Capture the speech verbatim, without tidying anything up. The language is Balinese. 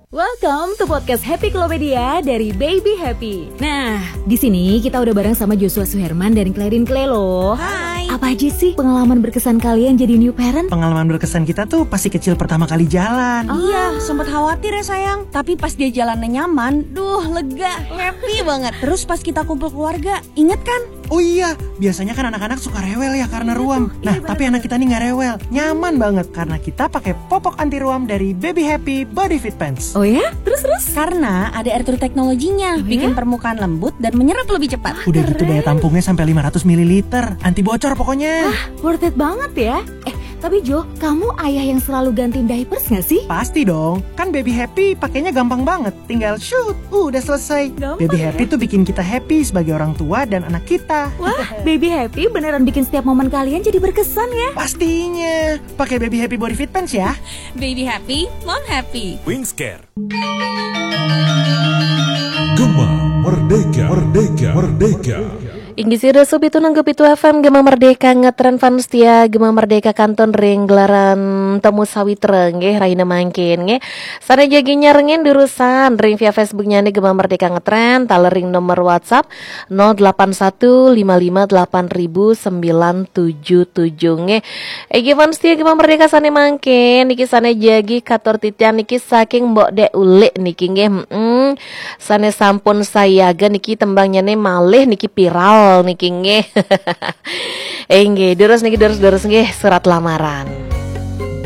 Welcome to podcast Happy Klopedia dari Baby Happy. Nah, di sini kita udah bareng sama Joshua Suherman dan Clarin Clay loh. Hai. Apa aja sih pengalaman berkesan kalian jadi new parent? Pengalaman berkesan kita tuh pasti kecil pertama kali jalan. Iya, sempat khawatir ya sayang. Tapi pas dia jalannya nyaman, duh lega, happy banget. Terus pas kita kumpul keluarga, inget kan? Oh iya, biasanya kan anak-anak suka rewel ya karena ruam. Nah, tapi anak kita nih nggak rewel, nyaman banget karena kita pakai popok anti ruam dari Baby Happy Body Fit Pants. Oh ya? Terus terus? Karena ada air true teknologinya, bikin permukaan lembut dan menyerap lebih cepat. Udah gitu daya tampungnya sampai lima ratus mililiter, anti bocor pokoknya. Worth it banget ya. Eh, tapi Jo, kamu ayah yang selalu ganti diapers gak sih? Pasti dong, kan Baby Happy pakainya gampang banget. Tinggal shoot, udah selesai. Gampang Baby ya? Happy tuh bikin kita happy sebagai orang tua dan anak kita. Wah, Baby Happy beneran bikin setiap momen kalian jadi berkesan ya. Pastinya, pakai Baby Happy Body Fit Pants ya. Baby happy, mom happy. Wingscare. Gema Merdeka, Merdeka, Merdeka. Inggih sira supitu nanggo pitu F M Gema Merdeka ngetren fans setia Gema Merdeka kantun ring gelaran Temu Sawitra nggih rahina mangkin nggih. Sane jagi nyarengin durusan ring via Facebooknya nih Gema Merdeka ngetren taler ring nomor WhatsApp nol delapan satu lima lima delapan ribu sembilan tujuh tujuh nggih. Inggih fans setia Gema Merdeka sane mangkin niki sane jagi katur titian niki saking Mbok Dek Ulik niki nggih. Mm-mm. Sane sampun sayaga niki tembangnyane malih niki viral niki nggih. Inggih, durus niki durus-durus nggih surat lamaran.